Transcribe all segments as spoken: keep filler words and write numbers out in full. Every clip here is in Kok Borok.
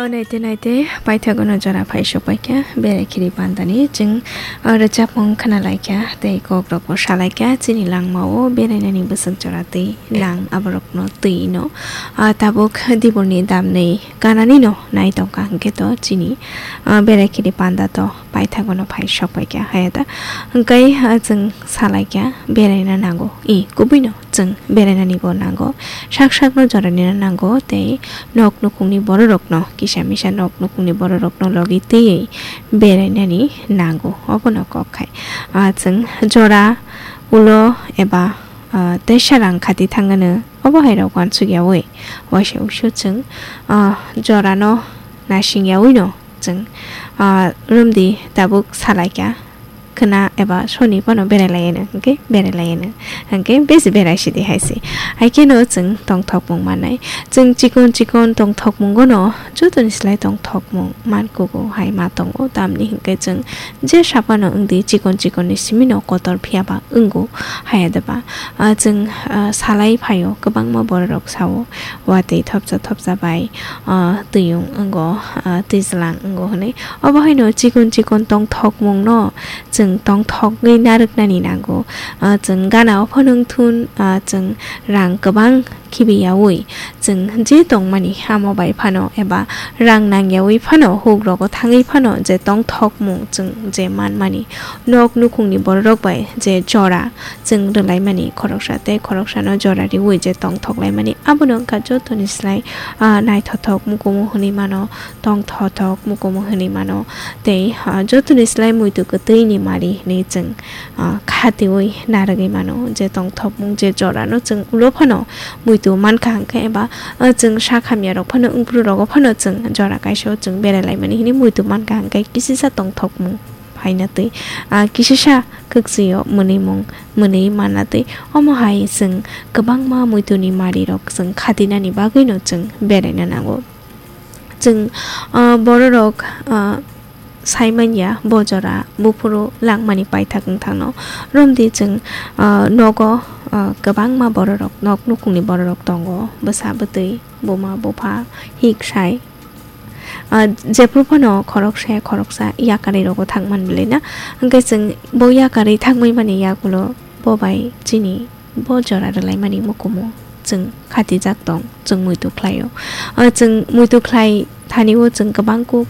O naite naite paithagono jora phai sokpaikha, berai khiri pandani chwng, o, rwchapmung khnalaikha, tei kokrokbo salaikha, chini langmao berainani bwswk jora twi nang aborokno twi no, o, tabuk diborni damni kananino nai tongkha hwnkhe to chini, o, berai khiri panda to paithagono phai sokpaikha, haya da. Hwnkhe, o, chwng salaikha, beraina nango, i, kubuino. Chwng berainanibo nango, sak sakno joranina nango tei nok nukhungni bororokno, kisa misa nok nukhungni bororokno logi twiwi berainani nango, obono kok khai. Ah, chwng jora ulo eba, ah, teisa rang khati thangano, obo hai rok uansuk yaui waisa uisu chwng, ah, jorano nasing yawino chwng, ah, romdi tabuk salaikha. Khwna eba soni phano berai laiyano, hwnkhe berai laiyano, hwnkhe besi berai sidi hai se. Hai kheno chwng tongthokmung mannai. Chwng chikon chikon tongthokmungono jotoni slai tongthokmung man kugo hai ma tongo. Tamni hwnkhe chwng je saphano wngdi chikon chikonni simino kotor phiya ba wngo haya deba. Ah, chwng, ah, salai phaio, kwbangma bororok sao, watwi thopsa thopsa bai, ah, twiyung wngo, ah, twijlang wngo hwnwi. Obo haino chikon chikon tongthokmungno chwng tongthokgwi narwknani nango. Ah, chwng gana o phano wngthun, ah, chwng rang kwbang khibiyaui chwng je tongmani amo bai phano eba rang nangyaui phano hugrogo thangwi phano je tongthokmung chwng je manmani nok nukhungni bororok bai je jora chwng rwlaimani khoroksa tei khoroksano jora riui je tongthoklaimani abono wngkha jotoni slai, ah, naithothok mukumu hwnwi mano. Tongthothok mukumu hwnwi mano. Tei, ah, jotoni slai muitu kwtwini mari hwnwi chwng, ah, khatiui narwgwi mano. Je tongthokmung je jorano chwng ulo phano muitu mankha hwnkhe eba, ah, chwng sak hamyarok phano wngphru rogo phano chwng jora kaisa o chwng berai laimani hwnwi muitu mankha hwnkhe kisisa tongthokmung phaina twi, ah, kisisa kwkchwio mwnwimung mwnwi manna twi omo hai chwng kwbangma muituni marirok chwng khatinani bagwino chwng beraina nango. Chwng, ah, bororok, ah, saimanya bo jora buphuru langmani paithak wngthangno romdi chwng, ah, nogo, ah, kwbangma bororok nok nukhungni bororok tongo, bwsa bwtwi, buma bupha, hik sai. Ah, jephru phano khoroksa khoroksa yakarwi rogo thangman bwlwi na. Hwnkhe chwng bo yakarwi thangwi mani yagulo bo bai chini bo jora rwlaimani mukumu chwng khatijak tong, chwng muitu khlaio. Ah, chwng muitu khlai thani o chwng kwbang kuk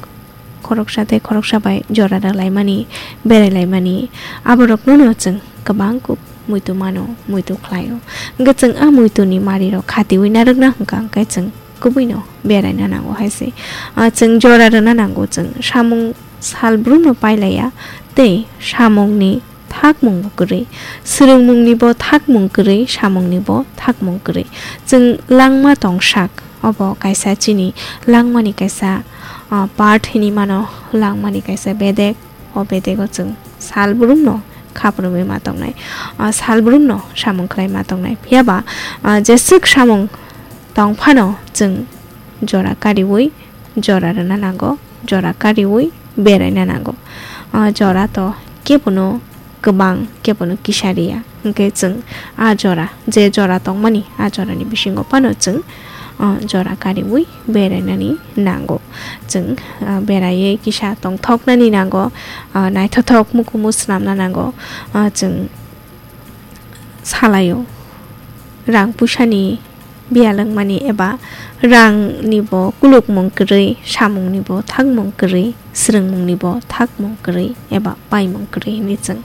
khoroksa tei khoroksa bai jora rwlaimani, berai laimani, aborokno no chwng kwbang kuk muitu mano, muitu khlaio. Hwnkhe chwng a muituni mari rok khatiui narwkna hwnkha hwnkhe chwng kubuino beraina nango hai se. Ah, chwng jora rwna nango, chwng samung sal brumno pailaiya tei samungni thakmung bo kwrwi, swrwngmungni bo thakmung kwrwi, samungni bo thakmung kwrwi. Chwng langma tongsak, obo kaisa chini langmani kaisa, ah, part hinwi mano, langmani kaisa bedek. O bedego chwng sal brumno khapurumwi ma tongnai, ah, sal brumno samung khlai ma tongnai. Phiya ba, ah, jeswk samung tong phano chwng jora kariui, jora rwna nango, jora kariui beraina nango. Ah, jora to kebono kwbang, kebono kisa riya. Hwnkhe chwng a jora, je jora tongmani, a jorani bisingo phano chwng, ah, jora kariui berainani nango. Chwng, ah, beraiwi kisa tongthoknani nango, ah, naithothok mukumu swnamna nango. Ah, chwng salaio rang puisani biyalwngmani eba rangni bo kulukmung kwrwi, samungni bo thakmung kwrwi, swrwngmungni bo thakmung kwrwi eba paimung kwrwi hinwi chwng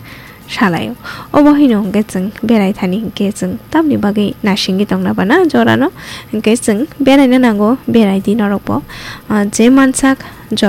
salaio. Obo haino hwnkhe chwng berai thani hwnkhe chwng tamni bagwi nasingwi tongna bana jorano hwnkhe chwng beraina nango, berai di norokbo, ah, je mansak jora